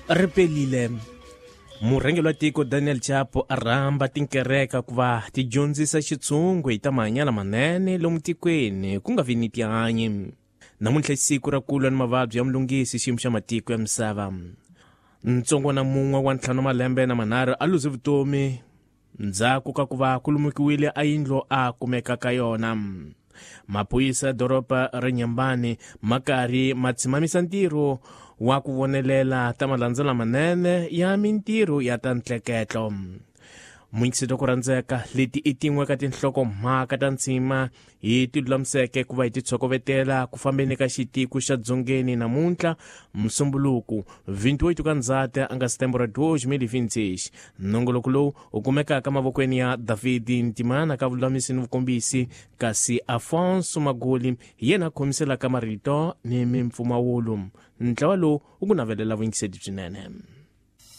Ri pelile. Murhangeri wa tiko Daniel Chapo a rhamba tinkereka ku va ti dyondzisa xitshungu hi ta mahanyelo manene lomu tikweni ku nga vi ni tihanyi. Namuntlha i siku ra ku lwa ni mavabyi ya mulungisi xiyimo xa matiko ya misava. Ntsongwana mun'we wa ntlhanu malembe na manharhu a luze vutomi ndzhaku ka ku va ku lumukiwile a yindlu a kumeka ka yona. Maphorisa ya doroba ra Nyambani ma karhi ma tshimamisa ntirho wa ku vonelela ta malandza lamanene ya mintirho ya ta ntleketlo. Munyikisito ku rhandzeka leti i tin'we ka tinhlokomhaka ta ntshima hi ti lulamiseke ku va hi ti tshokovetela ku fambeni ka xitiko xa dzongeni namuntlha musumbuluku 28 ka ndzati a nga setembro 2026. Nongoloko lowu u kumekaka mavokweni ya David Ntimana ka vululamisi ni vukombisi, kasi Afonso Magoli hi yena a khomiselaka marito ni mimpfumawulo. Ntlawa lowu wu ku navelela vuyingiseli byinene.